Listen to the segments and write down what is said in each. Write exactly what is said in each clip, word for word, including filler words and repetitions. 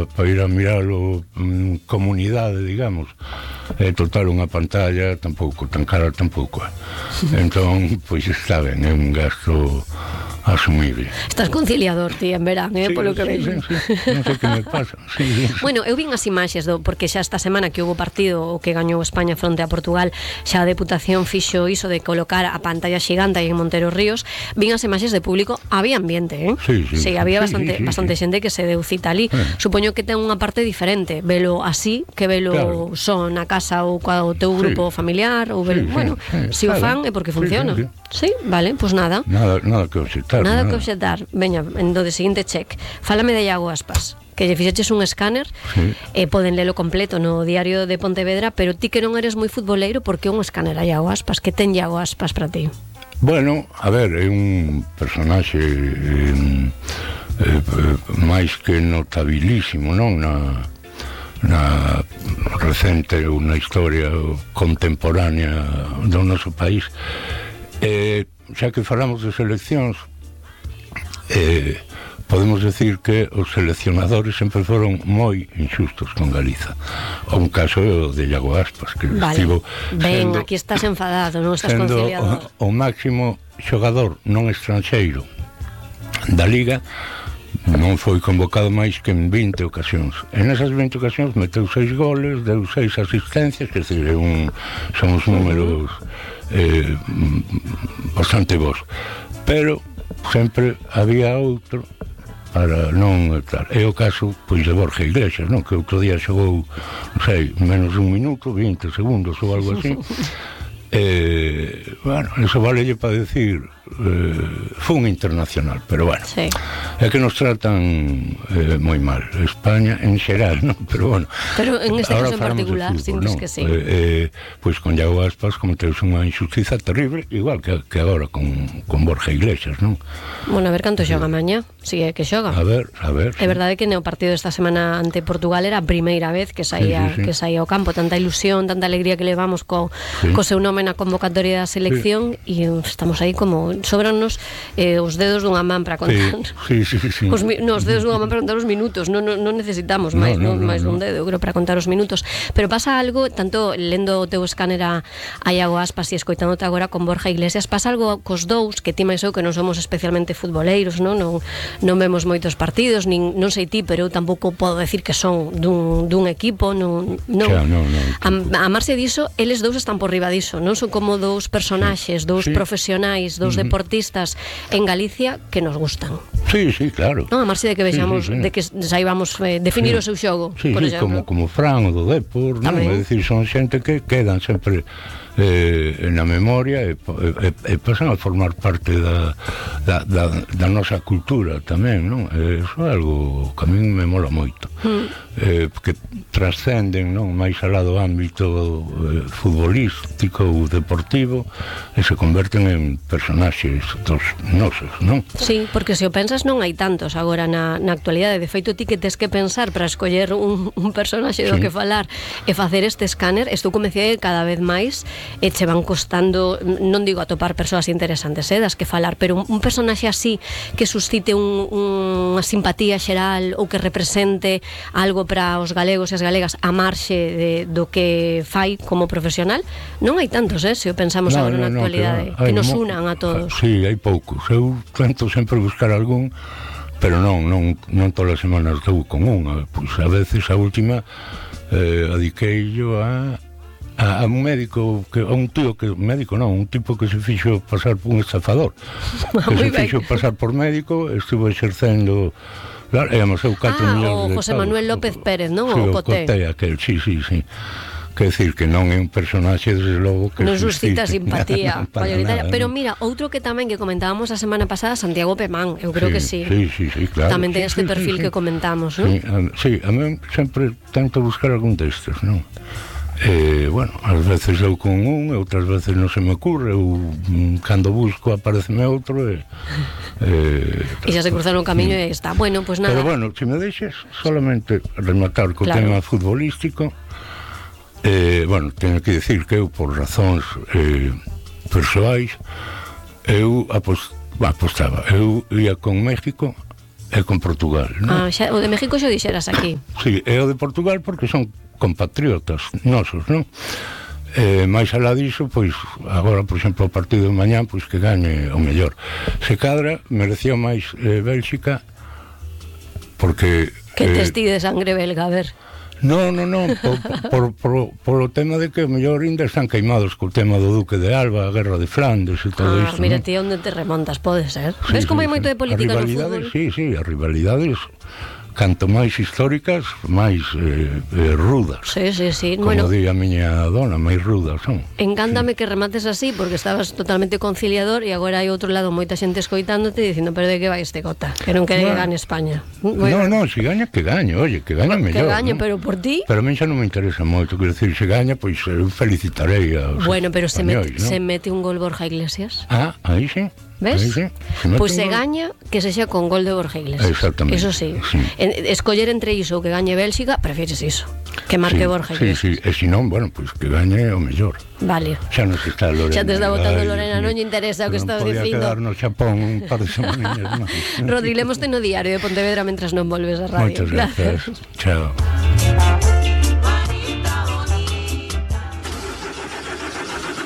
pa ir a miralo en comunidade, digamos. É total unha pantalla tampouco, tan cara tampouco. Entón, pois está ben, é un gasto asumible. Estás conciliador, ti, en verán, eh, sí, polo que sí, vejo. Sí, sí. Non sei que me pasa. Sí, sí. Bueno, eu vin as imaxes do, porque xa esta semana que houve partido o que gañou España fronte a Portugal, xa a Deputación fixo iso de colocar a pantalla xigante aí en Montero Ríos. Vin as imaxes de público, había ambiente, eh? Sí, sí. Sí, había sí, bastante sí, sí, bastante sí. xente que se deu cita ali. Eh. Supoño que ten unha parte diferente, velo así que velo claro. Só na casa ou coa o teu grupo sí. familiar ou velo, sí, bueno, sí, sí. Se o fan é porque funciona. Sí, sí, sí. Sí, vale, pois pues nada. Nada, nada que obxectar. Nada, nada que obxectar. Veña, en do de seguinte check. Fálame de Iago Aspas, que lle fixeches un escáner, sí. E poden lelo completo no diario de Pontevedra, pero ti que non eres moi futboleiro, por que un escáner a Iago Aspas? Que ten Iago Aspas para ti? Bueno, a ver, é un personaxe eh, eh, máis que notabilísimo, non? Na, na recente ou na historia contemporánea do noso país. Eh, xa que falamos de seleccións, eh, podemos decir que os seleccionadores sempre foron moi injustos con Galiza. Un caso é o de Iago Aspas, que vale. Estivo ben, sendo, aquí estás enfadado, non estás sendo conciliador. O, o máximo xogador non estranxeiro da Liga, non foi convocado máis que en vinte ocasións. En esas vinte ocasións meteu seis goles, deu seis asistencias, que decir, un, son os números eh, bastante bons. Pero sempre había outro para non estar. É o caso, pois, de Borja Iglesias, non? Que outro día xogou, non sei, menos un minuto, vinte segundos ou algo así. Eh, bueno, eso valelle para decir eh, fue un internacional, pero bueno, sí. É que nos tratan eh, moi mal, España en xeral, ¿no? Pero bueno, pero en este caso en particular, sintes ¿no? que sí. Eh, eh, pois pues con Iago Aspas cometeuse unha injustiza terrible, igual que, que agora con, con Borja Iglesias, non? Bueno, a ver canto xoga mañá, si é que xoga. A ver, a ver. É sí. Verdade que no partido desta semana ante Portugal era a primeira vez que saía sí, sí, sí. que saía ao campo, tanta ilusión, tanta alegría que levamos co, sí. co seu nome na convocatoria da selección e sí. Estamos aí como sobranos eh, os dedos dunha man para contar. Sí, sí, sí, sí. Os, no, os dedos dunha man para contar os minutos, non no, no necesitamos máis, no, no, no, máis no, no. un dedo, creo, para contar os minutos. Pero pasa algo, tanto lendo o teu escáner a, a Iago Aspas e escoitándote agora con Borja Iglesias, pasa algo cos dous, que ti máis eu que non somos especialmente futboleiros, non, non, non vemos moitos partidos, nin, non sei ti, pero eu tampouco podo decir que son dun, dun equipo, non, non. Xa, non, non a, a marxe diso, eles dous están por riba diso, non son como dous personaxes, dous sí. profesionais, dous uh-huh. deportistas en Galicia que nos gustan. Sí, sí, claro. Non, a marxe de que vexamos, sí, sí, sí. de que saibamos eh, definir sí. o seu xogo, sí, por sí, exemplo. como, como Fran o do Depor, non? É dicir, son xente que quedan sempre eh, na memoria e, e, e pasan a formar parte da, da, da, da nosa cultura tamén, non? E iso é algo que a mí me mola moito. Mm. Eh, que trascenden, non? Máis alá do ámbito eh, futbolístico ou deportivo e se converten en personaxes dos nosos, non? Sí, porque se o pensas non hai tantos agora na, na actualidade. De feito, ti que tes que pensar para escoller un, un personaxe do sí. que falar e facer este escáner, estou convencida que cada vez máis e che van costando, non digo atopar persoas interesantes, eh, das que falar, pero un, un personaxe así que suscite un, unha simpatía xeral ou que represente algo para os galegos e as galegas a marxe de, do que fai como profesional, non hai tantos, eh, se o pensamos no, agora no, na actualidade, no, que, que nos unan a todos. Sí, hai poucos. Eu tento sempre buscar algún, pero non, non, non todas as semanas dou con unha. Pois a veces a última eh, adiqueillo a a un médico, que, a un tío que, médico non, un tipo que se fixo pasar por un estafador, que se fixo pasar por médico, estuvo exercendo, claro, e amasou catro ah, millóns de o José Manuel López Pérez, non? Sí, o Coté. O Coté, aquel, sí, sí, sí. Quer decir que non é un personaxe, desde logo, que non suscita simpatía mayoritaria. Nada, pero no. Mira, outro que tamén que comentábamos a semana pasada, Santiago Pemán, eu creo sí, que sí. Sí, sí, sí, claro. Tamén ten sí, este sí, perfil sí, que comentamos, non? Sí, a, sí, a mí sempre tento buscar algún destes, non? Eh, bueno, ás veces eu con un, e outras veces non se me ocurre, ou cando busco apareceme outro e eh, e xa se cruzaron o camiño e está. Bueno, pois pues nada. Pero bueno, se me deixes solamente rematar co claro. tema futbolístico, eh, bueno, teño que decir que eu por razóns eh, persoais eu apost, bah, apostaba, eu ia con México e con Portugal, non? Ah, xa, o de México xa dixeras aquí. Sí, e o de Portugal porque son compatriotas nosos, non? Eh, máis alá diso, pois agora, por exemplo, o partido de mañá, pois que gane o mellor. Se cadra, merecía máis eh, Bélxica porque... Que eh, testi de sangre belga, a ver. No, no, no, por, por, por, por o tema de que o mellor ainda están queimados co tema do Duque de Alba, a guerra de Flandes e todo Ah, isto. mira, ¿no? ti onde te remontas, pode ser. Sí, Ves como sí, hai moito sí. de política As no rivalidades, fútbol? sí, sí, as rivalidades canto máis históricas, máis eh, eh, rudas. Sí, sí, sí. Como Bueno, di a miña dona, máis rudas son. encántame que remates así, porque estabas totalmente conciliador e agora hai outro lado moita xente escoitándote dicindo, pero de que vai este cota? Que non quere que Bueno. gane España. No, no, si gaña, que gañe, oye, que gaña Que mellor. gañe, ¿no? pero por ti... Pero a mí xa non me interesa moito, quero dicir, se gaña, pois eu felicitarei aos Bueno, pero se mete, españois, ¿no? se mete un gol Borja Iglesias. Ah, aí sí. ¿Ves? Aí sí. Se mete Pois pues un se gol. gaña que se xa con gol de Borja Iglesias. Exactamente. Eso sí. Sí. En, escoller entre iso ou que gañe Bélxica, prefieres iso. Que marque sí, Borja sí, Iglesias. sí, e se non, bueno, pois que gañe o mellor. Vale. Xa non se está Lorena. Xa te está botando Ai, Lorena, Dios non lle mío. interesa o que Non estás podía dicindo. quedar no Xapón un par de semaninhas máis. Rodri, lemoste no diario de Pontevedra mentras non volves a radio. Moitas gracias. Chao.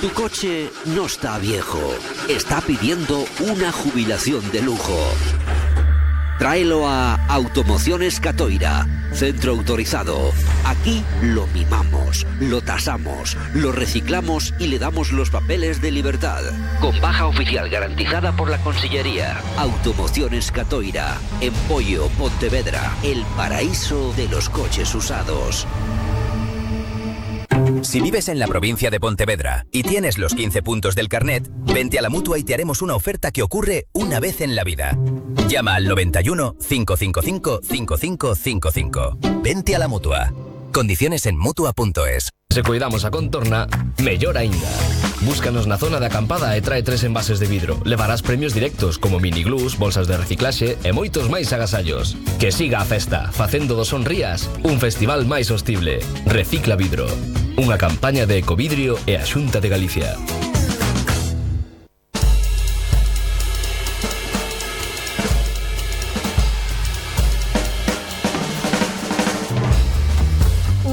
Tu coche no está viejo, está pidiendo una jubilación de lujo. Tráelo a Automociones Catoira, centro autorizado. Aquí lo mimamos, lo tasamos, lo reciclamos y le damos los papeles de libertad. Con baja oficial garantizada por la Consellería. Automociones Catoira, en Pollo, Pontevedra, el paraíso de los coches usados. Si vives en la provincia de Pontevedra y tienes los quince puntos del carnet, vente a la Mutua y te haremos una oferta que ocurre una vez en la vida. Llama al noventa y uno, cinco cinco cinco, cinco cinco cinco cinco. Vente a la Mutua. Condiciones en mutua punto es. Se cuidamos a contorna, mellor aínda. Búscanos na zona de acampada e trae tres envases de vidro. Levarás premios directos como miniglús, bolsas de reciclaxe e moitos máis agasallos. Que siga a festa, facendo do Sonrías un festival máis sostible. Recicla Vidro. Unha campaña de Ecovidrio e a Xunta de Galicia.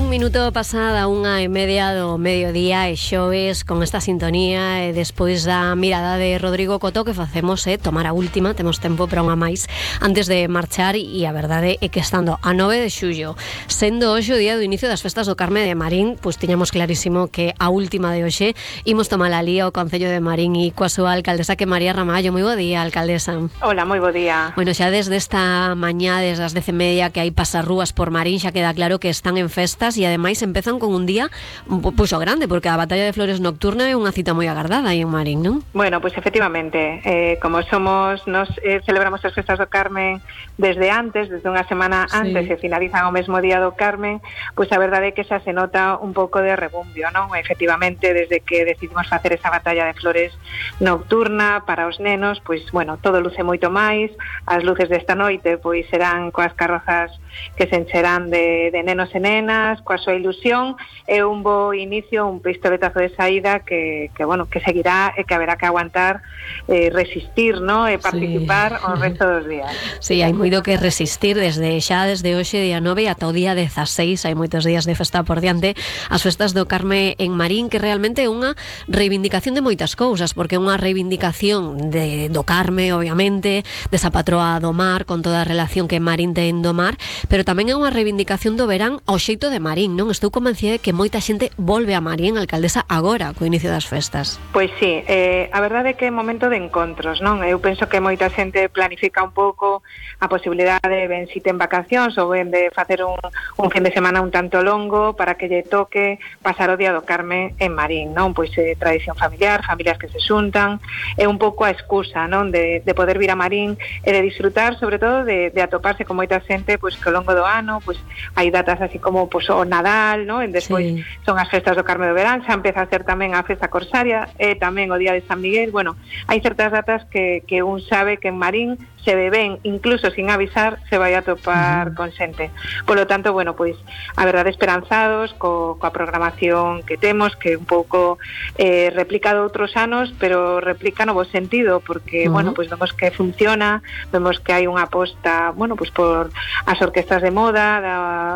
Minuto pasada unha e media do mediodía e xoves con esta sintonía e despois da mirada de Rodrigo Coto que facemos é tomar a última, temos tempo para unha máis antes de marchar e a verdade é que estando a nove de xullo sendo hoxe o día do inicio das festas do Carme de Marín, pois tiñamos clarísimo que a última de hoxe imos tomar a lía o Concello de Marín e coa súa alcaldesa que María Ramallo. Moi bo día, alcaldesa. Hola, moi bo día. Bueno, xa desde esta mañá, desde as dez e media que hai pasarrúas por Marín, xa queda claro que están en festas e ademais empezan con un día pois o grande, porque a Batalla de Flores Nocturna é unha cita moi agardada aí en Marín, non? Bueno, pois efectivamente, eh, como somos, nos eh, celebramos as festas do Carmen desde antes, desde unha semana antes, sí. E finalizan o mesmo día do Carmen, pois a verdade é que xa se nota un pouco de rebumbio, non? Efectivamente, desde que decidimos facer esa Batalla de Flores Nocturna para os nenos, pois, bueno, todo luce moito máis, as luces desta noite, pois serán coas carrozas que se encherán de, de nenos e nenas, coa súa ilusión, é un bo inicio, un pistoletazo de saída que, que bueno, que seguirá e que haberá que aguantar, eh, resistir, ¿no? E participar sí. O resto dos días. Sí, hai moito que resistir desde xa, desde hoxe día nove ata o día dezaseis, hai moitos días de festa por diante, as festas do Carme en Marín, que realmente é unha reivindicación de moitas cousas, porque é unha reivindicación de, do Carme, obviamente, desa patroa do mar, con toda a relación que Marín ten do mar, pero tamén é unha reivindicación do verán ao xeito de Marín, non? Estou convencida de que moita xente volve a Marín, alcaldesa, agora, co inicio das festas. Pois sí, eh, a verdade é que é momento de encontros, non? Eu penso que moita xente planifica un pouco a posibilidade de ben si ten vacacións ou ben de facer un, un fin de semana un tanto longo para que lle toque pasar o día do Carme en Marín, non? Pois eh, tradición familiar, familias que se xuntan, é un pouco a excusa, non? De, de poder vir a Marín e de disfrutar, sobre todo, de, de atoparse con moita xente, pois que ao longo do ano, pois hai datas así como pues, o Nadal, ¿no? E despois Sí. son as festas do Carme do Verán, xa empeza a ser tamén a festa corsaria e tamén o día de San Miguel. Bueno, hai certas datas que, que un sabe que en Marín se beben, incluso sin avisar, se vai a topar uh -huh. con xente. Polo tanto, bueno, pois a verdade esperanzados co, coa programación que temos, que un pouco eh, replica de outros anos, pero replica no bo sentido, porque, uh -huh. bueno, pois vemos que funciona, vemos que hai unha aposta, bueno, pois por as orquestas de moda, da,